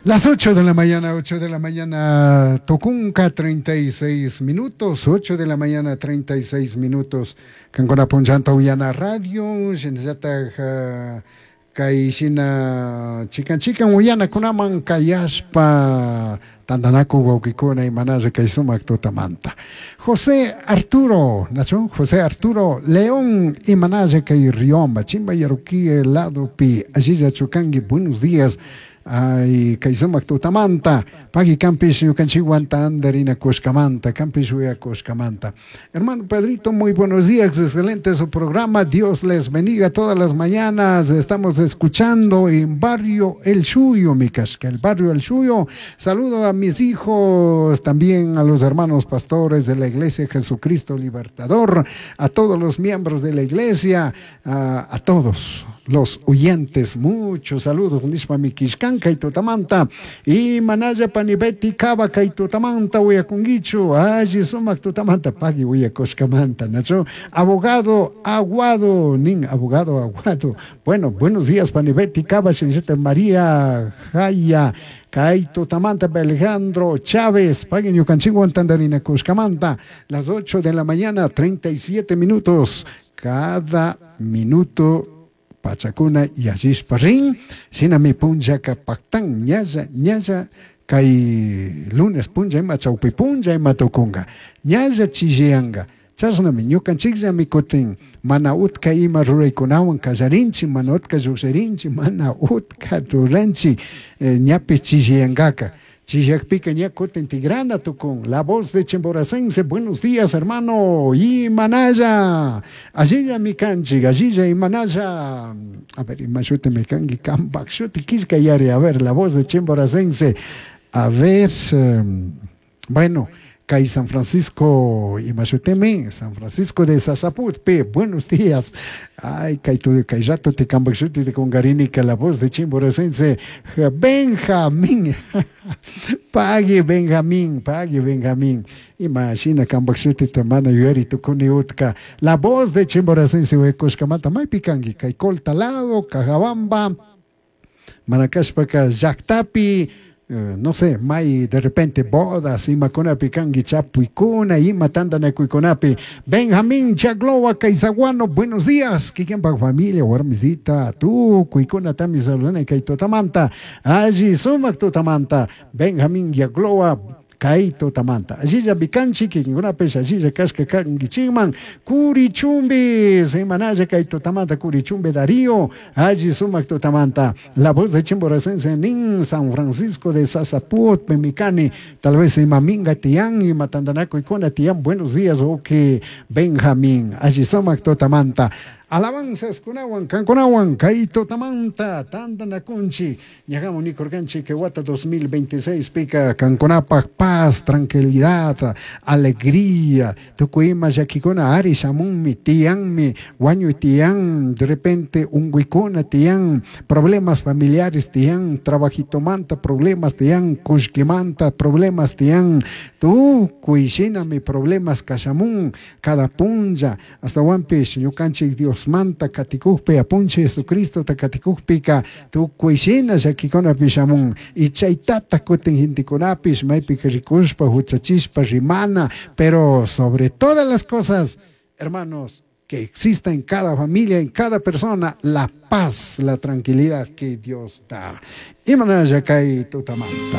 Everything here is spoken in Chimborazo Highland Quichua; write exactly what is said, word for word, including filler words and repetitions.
Las ocho de la mañana, ocho de la mañana, tucunca treinta y seis minutos, ocho de la mañana treinta y seis minutos. Cancuna punllanta uyana radio, shinallataj uh, kay shina chikan chikan uyanakunaman kayashpa tandanaku wawkikuna imanalla kay sumak tutamanta. José Arturo, nachu? José Arturo León, imanalla kay Riomba, Chimba Yaruqui ladopi, allilla chukangi, buenos días. Ay, kay sumak tutamanta, pagui kanpish ñukanchikwan tandarina kushkamanta, kanpish uyakushkamanta. Hermano Pedrito, muy buenos días, excelente su programa, Dios les bendiga todas las mañanas, estamos escuchando en Barrio El Suyo, mi casca, el Barrio El Suyo. Saludo a mis hijos, también a los hermanos pastores de la Iglesia Jesucristo Libertador, a todos los miembros de la iglesia, a, a todos los oyentes, muchos saludos, nishpa mi kishkan kay tutamanta, y manalla pani Betty Kaba kay tutamanta uyakunguichu, alli sumak tutamanta, pagui uyakushkamanta, nachu, abogado Aguado, nin, abogado Aguado. Bueno, buenos días, pani Betty Kaba, shinllata María Jaya, kay tutamanta Alejandro Chávez, pagui ñukanchikwan tandarina kushkamanta. Las ocho de la mañana, treinta y siete minutos, cada minuto pachakuna yallishpa rin, shinami punllaka paktan ñalla ñalla kay lunes punlla ima chawpi punlla ima tukunga ñalla chilliyanga. Chashnami ñukanchikllami kutin mana utka ima ruraykunawan kallarinchik, mana utka llukshirinchik, mana utka ruranchik, eh, ñapish chilliyankaka. Chillakpika ña kutin tigrana tukun. La Voz de Chimboracense, buenos días, hermano, imanalla, allilla mi kanchik, allilla imanalla. A ver, ima shuti mi kanki, kampak shuti killka yari. A ver, La Voz de Chimboracense, a ver, um, bueno, kay San Francisco, imashutimi, San Francisco de Sasaputpi, buenos días. Ay, kay tu kay rato te kampak shuti te kungarini que La Voz de Chimboracense, Benjamín. Pagui Benjamín, pagui Benjamín. Imashina kampak shutita mana yuyari tukuni utka. La Voz de Chimboracense uyakushkamanta maypi kanki, kay Colta lado, Cajabamba, mana kashpaka llaktapi, eh, no sé, may de repente bodas, imakunapi kanki, chapuykuna, ima tantanakuykunapi. Benjamín Chaglowa Kaizaguano, buenos días. Kikinpak familia, warmisita, tukuykunatami saludani kay tutamanta. Alli sumak tutamanta. Benjamín Yaglowa kay tutamanta. Allilla mikanchik, kikinkunapish allilla kashka kankichikman. Curichumbi, semanalla kay tutamanta, Curichumbi Darío, alli sumak tutamanta. La Voz de Chimboracense nin San Francisco de Sasaput, Pemicani, tal vez ima minga tiyan, ima tandanakuykuna tiyan, buenos días, ok, Benjamín, alli sumak tutamanta. Alabanzas kunawan, kankunawan, kay tutamanta, tandanakunchik, ñaqami nikurkanchik que wata dos mil veintiséis pika kankunapak paz, tranquilidad, alegría, tukuy ima llakikuna ari shamunmi, tiyanmi, wañuy tiyan, de repente unguykuna tiyan, problemas familiares tiyan, trabajitomanta problemas tiyan, kullkimanta problemas tiyan, tukuy shinami problemas kashamun cada punlla, ashtawanpish ñukanchik Dios manta katikukpi, apunchik Jesucristo ta katikukpika tukuy shina llakikunapish shamun y chaytata kutin gentekunapish maypika rikushpa huchachishpa rimana, pero sobre todas las cosas, hermanos, que exista en cada familia, en cada persona, la paz, la tranquilidad que Dios da. Imanalla kay tutamanta.